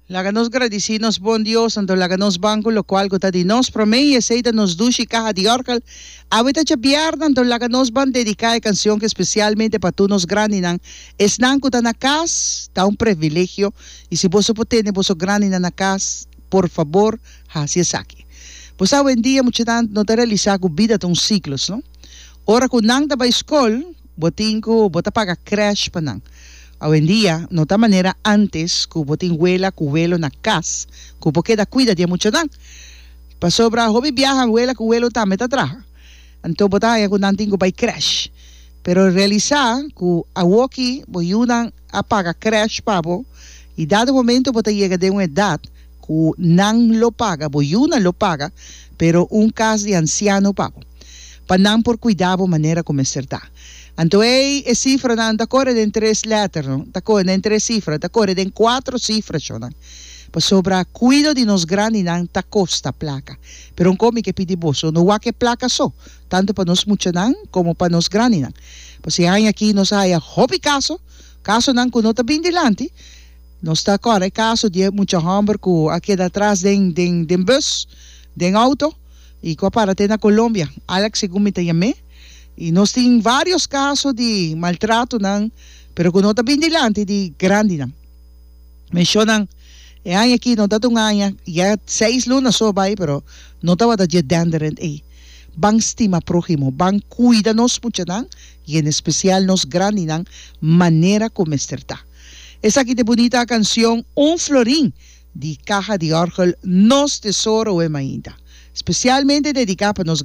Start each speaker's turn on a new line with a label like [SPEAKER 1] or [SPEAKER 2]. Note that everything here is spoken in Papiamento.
[SPEAKER 1] Laga nos gradisí nos bon Dios, anto laga nos ban ku lokual ku ta di nos promé, i esei ta nos dushi kaha di òrgel. Awe ta djabièrnè, anto laga nos ban dediká e kansion ki spesialmente pa tur nos grandinan. Esnan ku ta na kas, ta un privilegio, i si boso por tene boso grandinan na kas, por fabor hasi esaki. Bo sa awendia muchanan no ta realisá ku bida ta un siklos, no? Ora ku nan ta bai skol, bo tin ku bo ta paga krèsh pa nan. Awendia no ta manera antes ku bo tin wela ku welo na kas ku bo keda kuida di e muchanan. Pasobra hopi biaha wela ku welo tambe ta traha. Anto bo ta haña ku nan tin ku bai krèsh. Pero realisá ku awoki bo yunan a paga krèsh pa bo i dado momento bo ta yega den un edat ku nan lo paga, bo yunan lo paga, pero un kas di ansiano pa bo. Pa nan por kuida bo manera ku mester ta. Anto ei e sifranan ta kore den tres lèter, no? Ta kore den tres sifra, ta kore den kuatro sifra, shonnan. Pasobra kuido di nos grandinan ta kosta plaka. Pero un kos mi ke pidi boso, no wak e plaka so, tantu pa nos muchanan komo pa nos grandinan. Pasobra e aña aki nos a haya hopi kaso, kasonan ku no ta bin dilanti. Nos ta kòrda e kaso di e mucha hòmber ku a keda atras den den den bus, den outo, i ku a para te na Colombia. Alex segun mi ta yam'é. I nos tin vários kaso di maltratonan, pero ku no ta bin dilanti di grandinan. Menshonan, e aña aki no ta ta un aña, ya seis luna so a bai, pero no tabata dje denderend ei. Ban stima próhimo, ban kuida nos muchanan i en espesial nos grandinan manera ku mester ta. Esaki ta e bunita kansion Un Florin di Kaha di Òrgel Nos Tesoro We Mainta, spesialmente dediká pa nos.